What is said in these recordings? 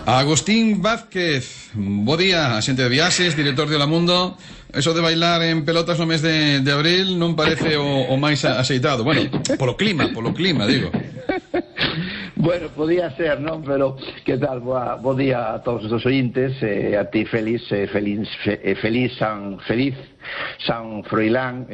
Agustín Vázquez, bo día, axente de viaxes, director de Hola Mundo. Eso de bailar en pelotas no mes de abril non parece o máis axeitado. Bueno, polo clima, digo. Bueno, podía ser, non? Pero, que tal? Bo día a todos os ointes, a ti feliz San Froilán,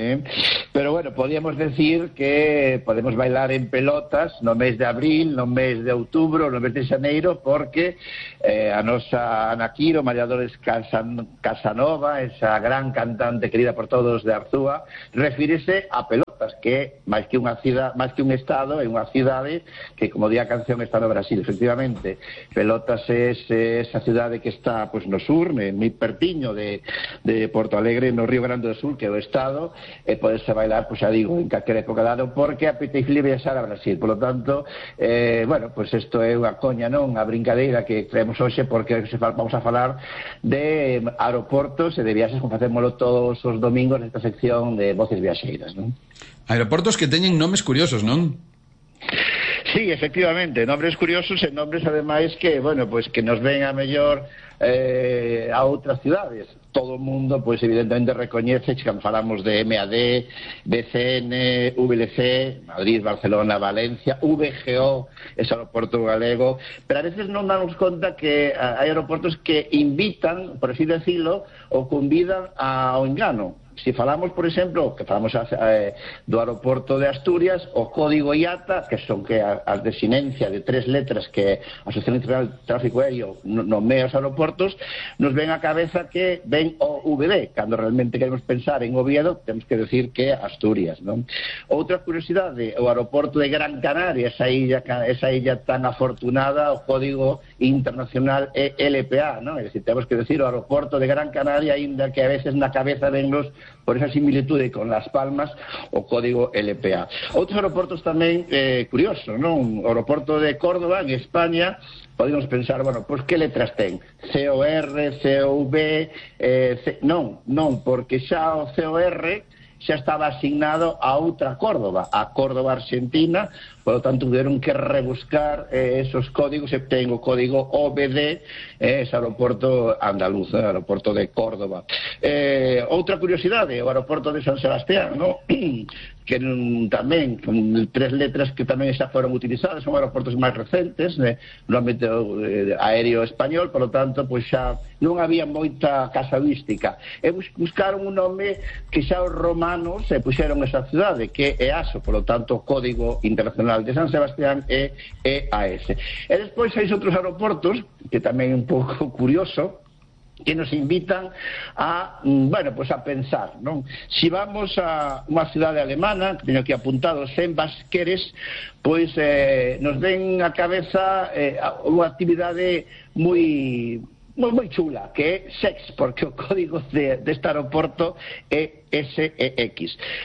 Pero bueno, podíamos decir que podemos bailar en pelotas no mes de abril, no mes de outubro, no mes de xaneiro, porque a nosa Ana Quiro, María Dolores Casanova, esa gran cantante querida por todos de Arzúa, refírese a pelotas, que máis que unha cidade, máis que un estado, é unha cidade que, como di a canción, está no Brasil, efectivamente. Pelotas é esa cidade que está pois no sur, moi pertiño de Porto Alegre, no Río Grande do Sul, que é o estado, e podese bailar, pois xa digo, en calquera época dado, porque apetece viaxar a Brasil. Por lo tanto, bueno, pois isto é unha coña, non? A brincadeira que creemos hoxe, porque vamos a falar de aeroportos e de viaxes, como facémoslo todos os domingos nesta sección de Voces Viaxeiras, non? Aeroportos que teñen nomes curiosos, non? Sí, efectivamente, nombres curiosos e nombres ademais que, bueno, pois que nos ven a mellor a outras cidades. Todo o mundo, pois evidentemente recoñece que cando falamos de MAD, BCN, VLC, Madrid, Barcelona, Valencia, VGO, ese aeroporto galego, pero a veces non damos conta que hai aeroportos que invitan, por así decirlo, ou convidan ao engano. Si falamos, por exemplo, que falamos do aeroporto de Asturias, o código IATA, que son que as desinencias de 3 letras que a Asociación Internacional de Tráfico Aéreo nomea os aeroportos, nos ven a cabeza que ven o VB, cando realmente queremos pensar en Oviedo, temos que decir que Asturias, non? Outra curiosidade, o aeroporto de Gran Canaria, esa illa tan afortunada, o código internacional é LPA, non? É dicir, temos que decir o aeroporto de Gran Canaria, aínda que a veces na cabeza vennos por esa similitude con Las Palmas, o código LPA. Outros aeroportos tamén curiosos, non? O aeroporto de Córdoba, en España, podemos pensar, bueno, pois que letras ten? COR, COV, non, porque xa o COR xa estaba asignado a outra Córdoba, a Córdoba Argentina, por lo tanto tuvieron que rebuscar esos códigos, e ten o código OBD, ese aeroporto andaluz, aeroporto de Córdoba. Outra curiosidade, o aeroporto de San Sebastián, ¿no? Que tamén, con 3 letras que tamén xa foron utilizadas, son aeroportos máis recentes no ámbito aéreo español, por lo tanto, pois xa non había moita casuística. E buscaron un nome que xa os romanos puxeron esa cidade, que é EASO, por lo tanto, Código Internacional de San Sebastián é EAS. E despois hai outros aeroportos, que tamén é un pouco curioso, que nos invitan a, bueno, pues a pensar, non? Si vamos a unha cidade alemana, que teño aquí apuntado, Sembasqueres, pois nos ven a cabeza unha actividade moi chula, que é SEX, porque o código deste aeroporto é SEX.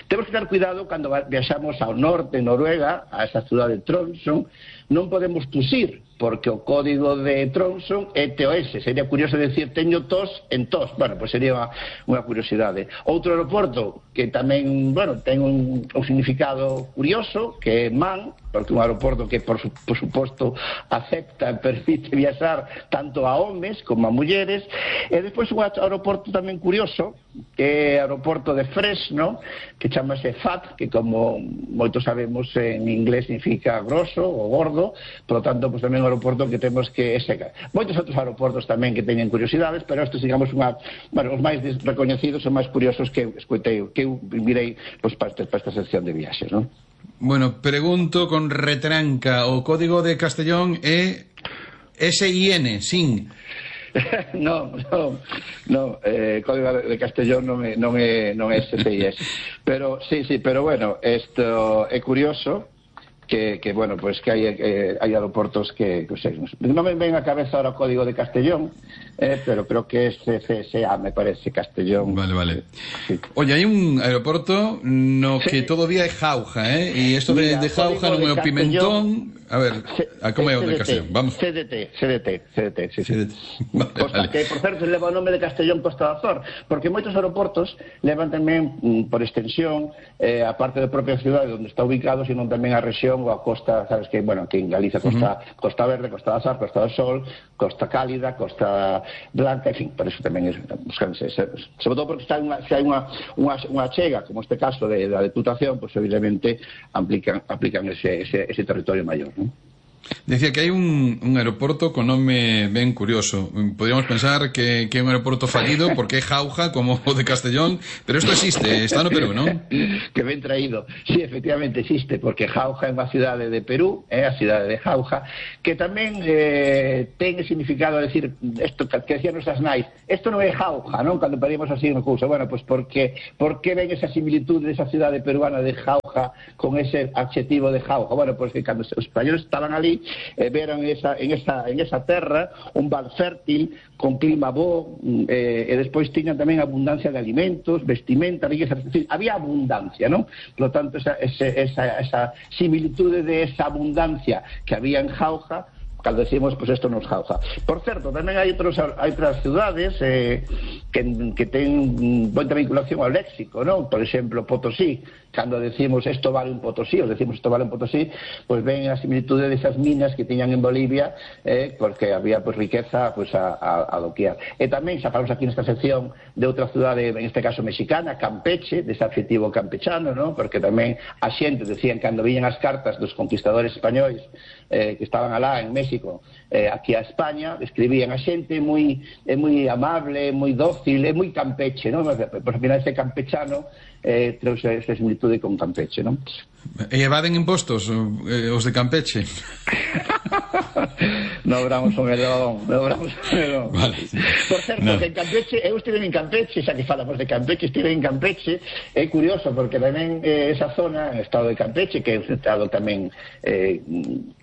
Temos que ter cuidado cando viaxamos ao norte, Noruega, a esa cidade de Tromsø, non podemos tusir, porque o código de Tromsø é TOS. Sería curioso decir, teño tos en tos. Bueno, pois sería unha curiosidade. Outro aeroporto que tamén, bueno, ten un significado curioso, que é MAN, porque é un aeroporto que, por suposto, acepta e permite viaxar tanto a homes como a mulleres. E despois un aeroporto tamén curioso, que é o aeroporto de Fresno, que chamase FAT, que como moitos sabemos en inglés significa grosso ou gordo, por lo tanto, pues, tamén un aeroporto que temos que secar. Moitos outros aeroportos tamén que teñen curiosidades, pero estes, digamos, os máis recoñecidos e máis curiosos que escoitei, que eu mirei pues, para esta sección de viaxes, non? Bueno, pregunto con retranca, o código de Castellón é SIN, SIN. No, código de Castellón non é SCIS. Pero, sí, pero bueno, isto é curioso, que bueno, pues que hai aeroportos que non me ven a cabeza ahora o código de Castellón, pero creo que é CCSA, me parece, Castellón. Vale. Sí. Oye, hai un aeroporto no que todavía é Jauja, e isto de Jauja non é o Pimentón. A ver, como é o de Castellón? Vamos. CDT, sí. Vale, Costa, vale. que, por certo, leva o nome de Castellón Costa da Azor, porque moitos aeroportos levan tamén, por extensión, a parte da propia cidade onde está ubicado, sino tamén a rexión ou a costa, sabes que, bueno, aquí en Galicia, Costa Verde, Costa da Azor, Costa do Sol, Costa Cálida, Costa Blanca, en fin, por eso tamén buscanse, sobre todo porque se hai unha chega, como este caso da Deputación, pues evidentemente aplican ese territorio maior, ¿no? Decía que hai un aeroporto con nome ben curioso. Podríamos pensar que é un aeroporto fallido porque é Jauja, como o de Castellón, pero isto existe, está no Perú, non? Que ben traído. Sí, efectivamente existe, porque Jauja é unha cidade de Perú, a cidade de Jauja, que tamén ten significado, decir, isto que decían nosas nais, isto non é Jauja, non? Cando pedimos así unha cousa, bueno, pues por que ven esa similitud desa cidade peruana de Jauja con ese adxetivo de Jauja? Bueno, pues que cando os españoles estaban ali, veron en esa terra un val fértil con clima bo, e despois tiñan tamén abundancia de alimentos, vestimenta, riqueza, es decir, había abundancia, ¿no? Por lo tanto, esa similitude de esa abundancia que había en Jauja, cando decimos, pues esto nos Jauja. Por certo, tamén hai outras cidades que ten moita vinculación ao léxico, non? Por exemplo, Potosí, cando decimos esto vale un Potosí, ou decimos esto vale un Potosí, pues ven a similitude desas minas que tiñan en Bolivia, porque había pues riqueza pues a doquier. E tamén xa falamos aquí nesta sección de outra cidade, en este caso mexicana, Campeche, dese adxetivo campechano, non? Porque tamén a xente decían cando viñan as cartas dos conquistadores españois que estaban alá en México, aquí a España, escribían a xente moi amable, moi dócil, moi campeche, non? Por final ese campechano trouxe esa similitude con Campeche, non? E evaden impostos os de Campeche? No obramos un melón. Vale. Por certo, que en Campeche, eu estive en Campeche, xa que falamos de Campeche, estive en Campeche, é curioso porque tamén esa zona, en estado de Campeche, que é un estado tamén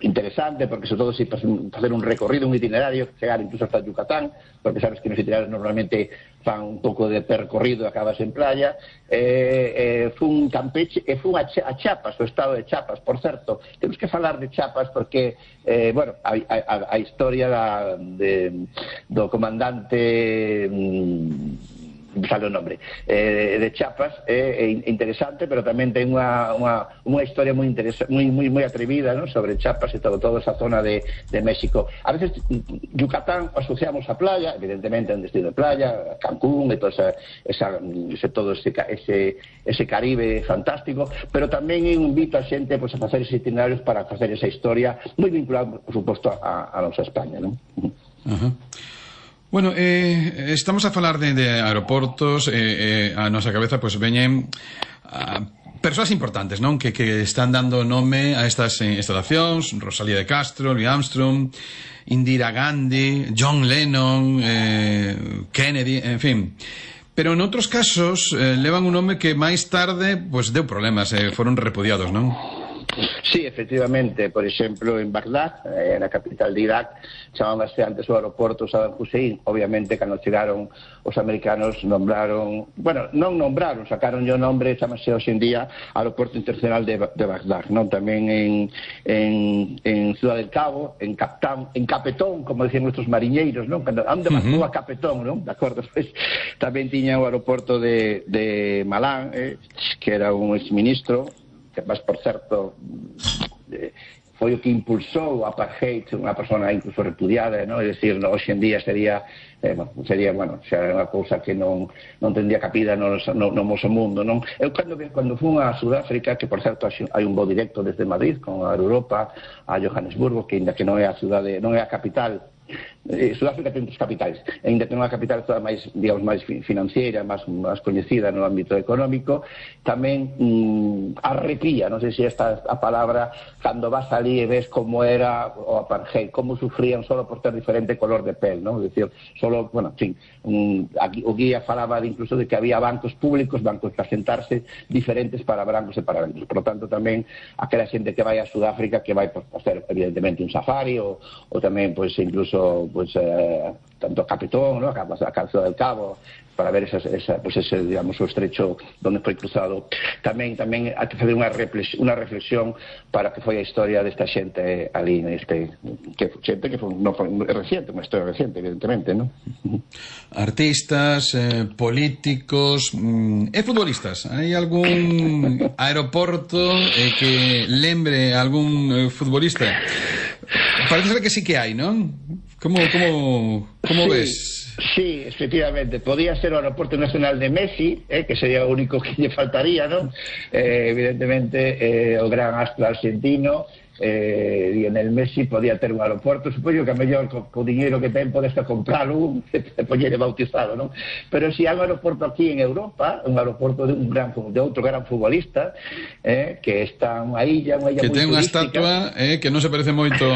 interesante, porque sobre todo se facer un recorrido, un itinerario, chegar incluso hasta Yucatán, porque sabes que nos itinerarios normalmente fan un pouco de percorrido e acabas en playa, fun Campeche e fun a Chiapas, o estado de Chiapas. Por certo, temos que falar de Chiapas porque, bueno, a historia do comandante sale o nombre de Chiapas é interesante, pero tamén ten unha historia moi atrevida, ¿no? Sobre Chiapas e toda esa zona de México. A veces Yucatán asociamos a playa, evidentemente é un destino de playa, Cancún e todo ese Caribe fantástico, pero tamén invito a xente pues, a facer ese itinerarios para facer esa historia moi vinculada, por suposto, a nosa España, ¿no? Bueno, estamos a falar de aeroportos, a nosa cabeza pues veñen persoas importantes, non? Que están dando nome a estas instalacións, Rosalía de Castro, Louis Armstrong, Indira Gandhi, John Lennon, Kennedy, en fin. Pero en outros casos levan un nome que máis tarde pues deu problemas, foron repudiados, non? Sí, efectivamente, por exemplo, en Bagdad, na capital de Irak, chamábase antes o aeroporto Saddam Hussein. Obviamente, cando chegaron os americanos, sacaron o nombre, chamase hoxe en día Aeroporto Internacional de Bagdad, non? Tamén en Ciudad del Cabo, en Capetón, como decían nuestros mariñeiros, non? Onde marcou a Capetón, non? De acordo, pues, tamén tiña o aeroporto de Malán, que era un exministro, que más, por certo, foi o que impulsou o apartheid, unha persona incluso repudiada, ¿no? É dicir, hoxe en día sería unha cousa que non tendría capida no noso mundo, non? Eu cando fun a Sudáfrica, que por certo hai un voo directo desde Madrid con a Europa a Johannesburgo, que ainda que non é a cidade, non é a capital. Sudáfrica ten dos capitais, ainda ten unha capital toda máis, digamos, máis financiera, máis coñecida no ámbito económico, tamén arrepía, non sei se esta a palabra, cando vas ali e ves como era o apartheid, como sufrían solo por ter diferente color de pel, non? É dicir, solo, bueno, en fin, o guía falaba incluso de que había bancos públicos, bancos para sentarse diferentes para brancos e para negros. Por lo tanto, tamén aquela xente que vai a Sudáfrica, que vai por hacer evidentemente un safari ou tamén, pois, incluso pues tanto a Capitón, ¿no? a Ciudad del Cabo, para ver ese, digamos, o estrecho onde foi cruzado. Tamén hai que fazer unha reflexión para que foi a historia desta xente ali, que xente que non foi reciente, unha historia reciente, evidentemente, non? Artistas, políticos e futbolistas. Hai algún aeroporto que lembre a algún futbolista? Parece ser que sí que hai, non? Como ves? Sí, efectivamente, podía ser o aeroporto nacional de Messi, que sería o único que lle faltaría, non? Evidentemente, o gran astro argentino, Lionel Messi podía ter un aeroporto, supoño que a mellor co dinheiro que ten podes compralo e poñer bautizado, non? Pero si hai un aeroporto aquí en Europa, un aeroporto de outro gran futbolista, que está unha illa que ten unha estatua que non se parece moito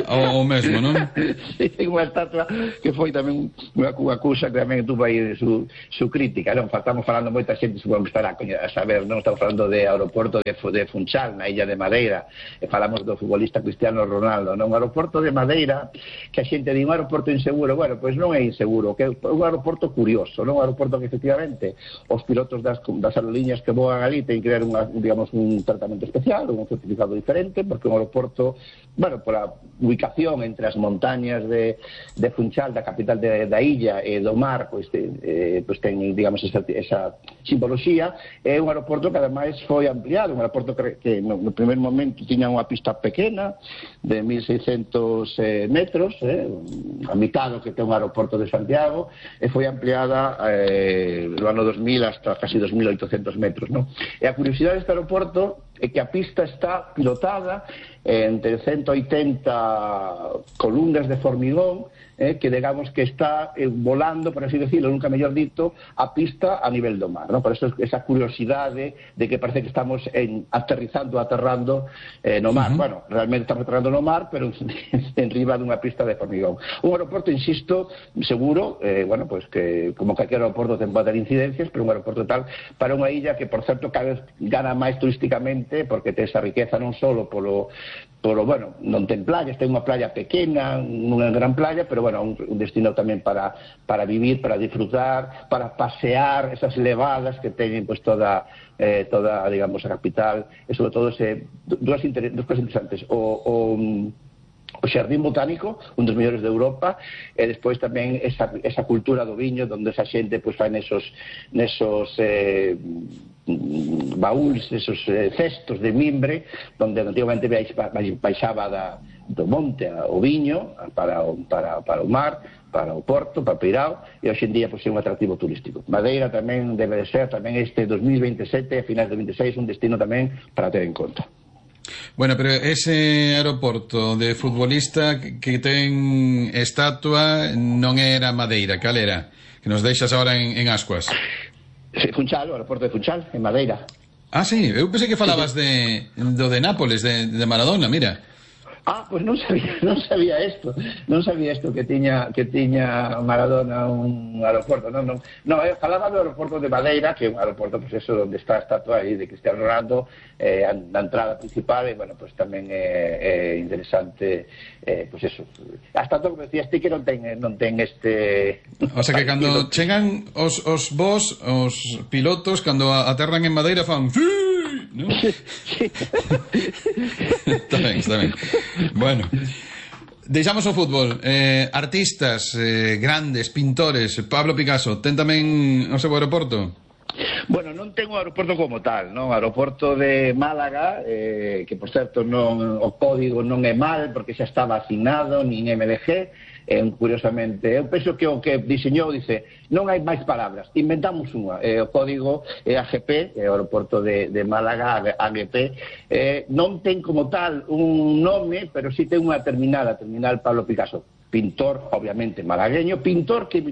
ao mesmo, non? Sí, ten unha estatua que foi tamén unha cousa que tamén tuvo aí su crítica, non? Estamos falando moita xente, supongo que estará a saber, non? Estamos falando de aeroporto de Funchal, na illa de Madeira. Falamos do futbolista Cristiano Ronaldo, non? Un aeroporto de Madeira, que a xente di un aeroporto inseguro, bueno, pois non é inseguro, que é un aeroporto curioso, non? Un aeroporto que efectivamente os pilotos das aerolíneas que voan ali ten que dar un tratamento especial, un certificado diferente, porque un aeroporto, bueno, pola ubicación entre as montañas de Funchal, da capital da illa, e do mar, pois ten, digamos, esa simboloxía. É un aeroporto que ademais foi ampliado, un aeroporto que no primer momento tiña unha pista pequena de 1.600 metros, a mitad do que ten un aeroporto de Santiago, e foi ampliada no ano 2000 hasta casi 2.800 metros, non? E a curiosidade deste aeroporto é que a pista está pilotada entre 180 columnas de formigón, que digamos que está volando, por así decirlo, nunca mellor dito, a pista a nivel do mar, non? Por eso esa curiosidade de que parece que estamos aterrando no mar. Bueno, realmente estamos aterrando no mar, pero en riba dunha pista de formigón. Un aeroporto, insisto, seguro, bueno, pues que como calquer aeroporto ten pode ter incidencias, pero un aeroporto tal para unha illa que, por certo, cada vez gana máis turísticamente, porque ten esa riqueza non só polo, bueno, non ten playas, ten unha playa pequena, unha gran playa, pero bueno, un destino tamén para vivir, para disfrutar, para pasear esas levadas que teñen pues toda, digamos, a capital, e sobre todo dúas cosas interesantes, o Xardín Botánico, un dos mellores de Europa, e despois tamén esa cultura do viño, onde esa xente pues fai nesos baúls, esos cestos de mimbre, onde antigamente baixaba do monte o viño para o mar, para o porto, para Peirao, e hoxe en día é un atractivo turístico. Madeira tamén debe ser, tamén este 2027, a finais de 26, un destino tamén para ter en conta. Bueno, pero ese aeroporto de futbolista que ten estatua non era Madeira, cal era? Que nos deixas agora en ascuas. Funchal, o aeroporto de Funchal, en Madeira. Ah, sí, eu pensei que falabas do de Nápoles, de Maradona, mira. Ah, pues non sabía isto que tiña Maradona un aeroporto, non, falaba do aeroporto de Madeira, que é un aeroporto, pues eso, onde está a estatua aí de Cristiano Ronaldo, na entrada principal, e, bueno, pues tamén é interesante, pues eso, a estatua, como decías ti, que non ten este... O sea que cando chegan os vos, os pilotos, cando aterran en Madeira, fan... ¿No? Sí. Está ben. Bueno, deixamos o fútbol. Artistas grandes, pintores, Pablo Picasso, ten tamén o seu aeroporto? Bueno, non ten un aeroporto como tal, non? O aeroporto de Málaga, que por certo o código non é mal, porque xa estaba asignado, nin MDG, curiosamente, eu penso que o que diseñou dice, non hai máis palabras, inventamos unha, o código é AGP, o aeroporto de Málaga, AGP, non ten como tal un nome, pero sí ten unha terminal, a terminal Pablo Picasso, pintor, obviamente malagueño, pintor que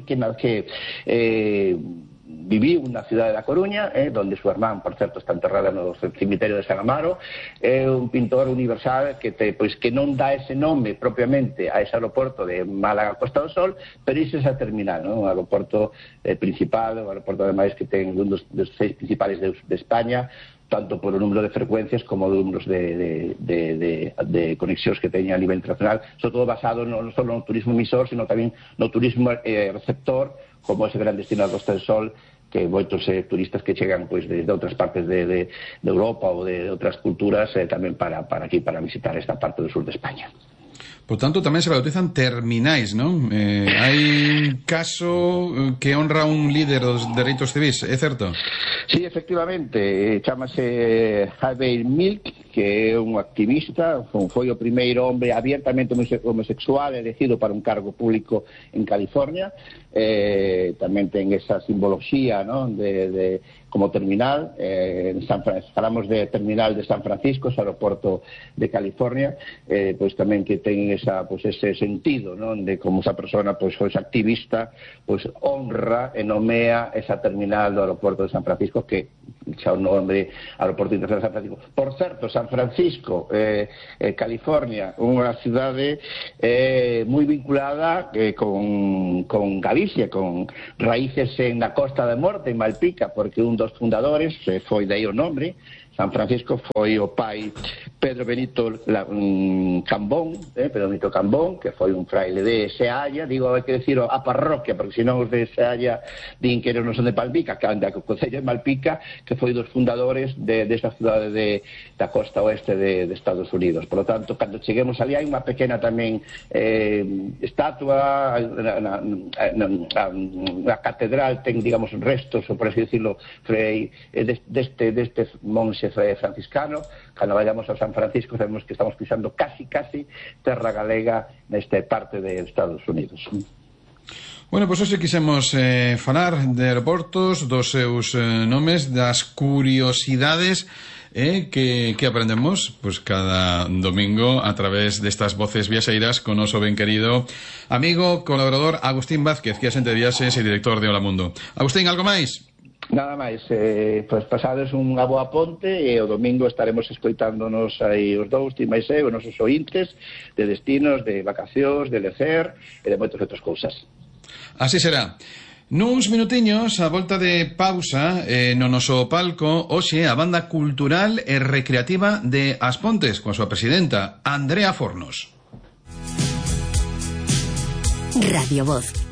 viviu na cidade da Coruña, donde súa irmán, por certo, está enterrada no cemiterio de San Amaro. É un pintor universal que non dá ese nome propiamente a ese aeroporto de Málaga Costa do Sol, pero iso é esa terminal, non? O aeroporto principal, o aeroporto ademais que ten un dos 6 principales de España, tanto por o número de frecuencias como de números de conexións que teña a nivel internacional, sobre todo basado non só no turismo emisor, sino tamén no turismo receptor, como ese gran destino da Costa del Sol, que moitos turistas que chegan pois desde outras partes de Europa ou de outras culturas tamén para aquí, para visitar esta parte do sur de España. Por tanto, tamén se bautizan terminais, non? Hai un caso que honra un líder dos dereitos civis, é certo? Sí, efectivamente, chamase Harvey Milk, que é un activista, foi o primeiro hombre abiertamente homosexual elegido para un cargo público en California. Tamén ten esa simbología, ¿no?, de como terminal. Falamos de terminal de San Francisco, ese aeroporto de California, pois tamén que ten ese sentido, ¿no?, de como esa persona, pois esa activista, pois honra e nomea esa terminal do aeroporto de San Francisco, que xa o nome Aeroporto Internacional de San Francisco. Por certo, San Francisco, California, unha cidade moi vinculada con Galicia, con raíces na Costa da Morte, en Malpica, porque un dos fundadores foi de aí o nome. San Francisco foi o pai Pedro Benito Cambón, que foi un fraile de Sealla. Digo, hai que decir a parroquia, porque senón os de Sealla din que non son de Malpica, que anda co concello de Malpica, que foi dos fundadores desta cidade da costa oeste de Estados Unidos. Por lo tanto, cando cheguemos ali hai unha pequena tamén estatua, na catedral ten, digamos, restos, ou por así decirlo, deste monxe franciscano. Cando vayamos a San Francisco sabemos que estamos pisando casi terra galega nesta parte de Estados Unidos. Bueno, pois hoxe quisemos falar de aeroportos, dos seus nomes, das curiosidades que aprendemos pois cada domingo a través destas voces viaxeiras con noso ben querido amigo, colaborador Agustín Vázquez, que é xente de viaxes e director de Hola Mundo. Agustín, algo máis? Nada máis, pois pasades unha boa ponte e o domingo estaremos escoitándonos aí os dous, ti máis os nosos ointes de destinos, de vacacións, de lecer e de moitas outras cousas. Así será. Nuns minutiños, a volta de pausa, no noso palco, hoxe a banda cultural e recreativa de As Pontes, coa súa presidenta, Andrea Fornos. Radio Voz.